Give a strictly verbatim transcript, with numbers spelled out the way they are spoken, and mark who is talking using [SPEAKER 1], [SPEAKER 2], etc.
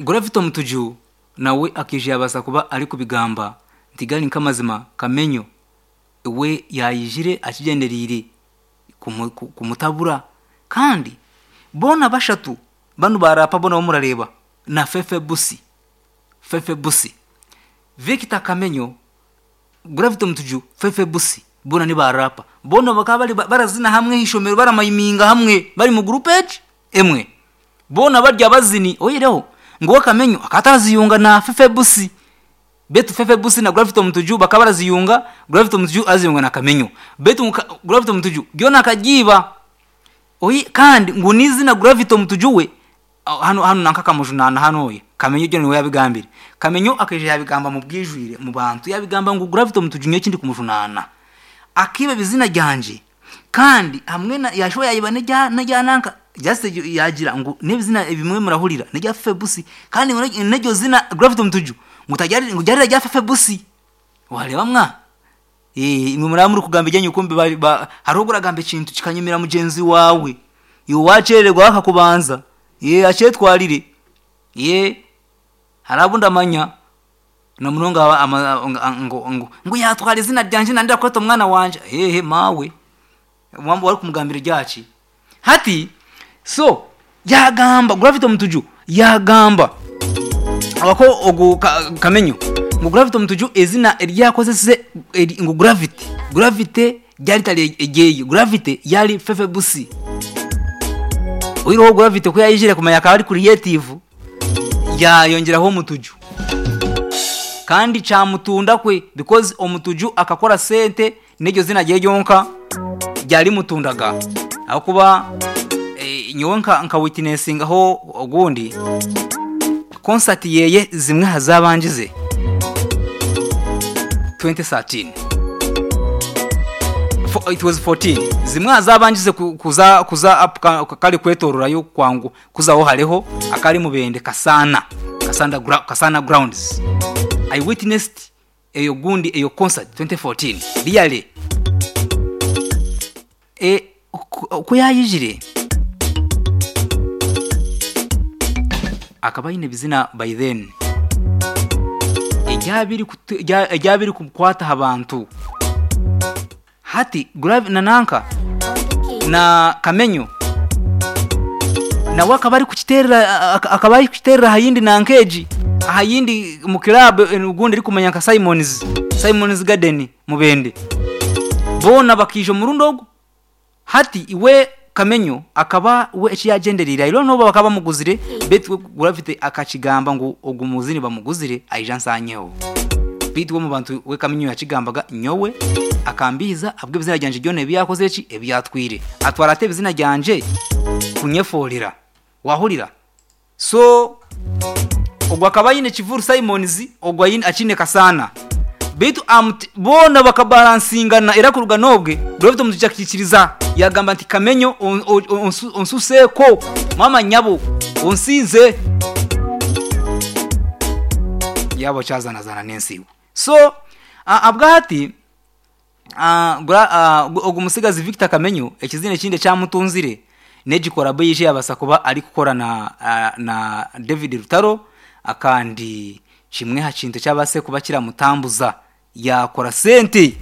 [SPEAKER 1] Gravity Omutuju nawe akija yabaasa kuba arikubigamba nti gari nk'amazima Kamenyo we yayijire akigyendereire kumu- ku- kumutabura. Kandi boona bashatu banu barapa boona bamurareeba na Fefe Busi, Fefe Busi, Victor Kamenyo, Gravity Omutuju, Fefe Busi, boona nibarapa, boona bakaba bari barazina hamwe ah'eishomero, baramayiminga hamwe bari mu gurupu egi emwe, boona bari abazini. Oyihireho ngu we Kamenyo akaba ataraziyunga na Fefe Busi, beitu Fefe Busi na Gravity Omutuju bakaba baraziyunga, Gravity Omutuju araziyunga na Kamenyo, beitu ngu Gravity Omutuju ryona akagiiba. Oyi kandi ngu n'eizina Gravity Omutuju we hanu hanu nanka akamujunaana hanu oya Kamenyo ryona niwe yabigambire. Kamenyo akaija yabigamba mu bwijwire mu bantu, yabigamba ngu Gravity Omutuju nyowe ekindi kumujunaana akiiba ebizina ryangye, kandi hamwe na yashuba yayiba n'erya n'erya nanka, just yagira ngu n'ebizina ebimwe murahurira n'erya Fefe Busi, kandi ngu n'eryo zina Gravity Omutuju ngu taryari ngu ryari erya Fefe Busi. Wareeba mwa, imwe muraba murikugamba ebyanyu kumbe ba hariho ogu oragamba ekintu kikanyumira mugyenzi waawe, iwe wakyerererwa akakubanza, akyetwarire, hariho abu ndamanya na munonga ngu ngu yatwara izina ryangye nandenda kweta omwana wangye, ehe maawe waba orikumugambira eryaki. Hati so yagamba Gravity Omutuju yagamba ko ogu Kamenyo ngu Gravity Omutuju eizina eri yakozesize ngu Gravity, Gravity ryari ritari eryeye, Gravity yari Fefe Busi. Oyihireho Gravity ku yayijire kumanya akaba ari creative, yayongyeraho Omutuju kandi kyamutunda kwe because Omutuju akakora sente n'eryo zina rye ryonka ryarimutundaga, ahabw'okuba nyowe nka witnessingaho ogundi concert yeye zimwe aha zabangize twenty thirteen, it was fourteen, zimwe aha zabangize kuza kuza up kare kwetororayo kwangu kuzaho hariho akari Mubende Kasana, Kasanda Kasana grounds. I witnessed eyo gundi eyo concert twenty fourteen really. E, ku yayijire akaba aine ebizina by then eryaba birikukwata aha bantu. Hati na nanka na Kamenyo nawe akaba arikukiteerera akaba arikukiteerera aha yindi nanka egi aha yindi mu club ogundi erikumanya nka Simons, Simons Garden Mubende. Boona bakaija omurundi ogu. Hati iwe Kamenyo akaba we eki yagyendereire, I don't know oba bakaba bamuguzire, beitu we Gravity akakigamba ngu ogu muzini bamuguzire aije ansanyeho. Beitu we omu bantu we Kamenyo yakigambaga nyowe akambiiza ahabw'ebizina ryangye ryona ebi yakozire ki ebi yatwire. Atwara ata ebizina ryangye kunyefoorera, wahurira? So ogwo akaba aine Kivuru Simons, ogwo akiine Kasana. Beitu boona bakabaransingana era kuruga n'obwe Gravity Omutuju akaikiriza yagamba nti Kamenyo onsuseeko maama nyabo onsinze, yaaba okyazanazana n'ensi iwe. So ahabwahati ogu mutsigazi Victor Kamenyo ekizina ekindi ekyamutunzire n'egi collabo ei yabaasa kuba arikukora na, na David Rutaro, akandi kimwe aha kintu ekyabaasire kuba kiramutambuza yakora sente.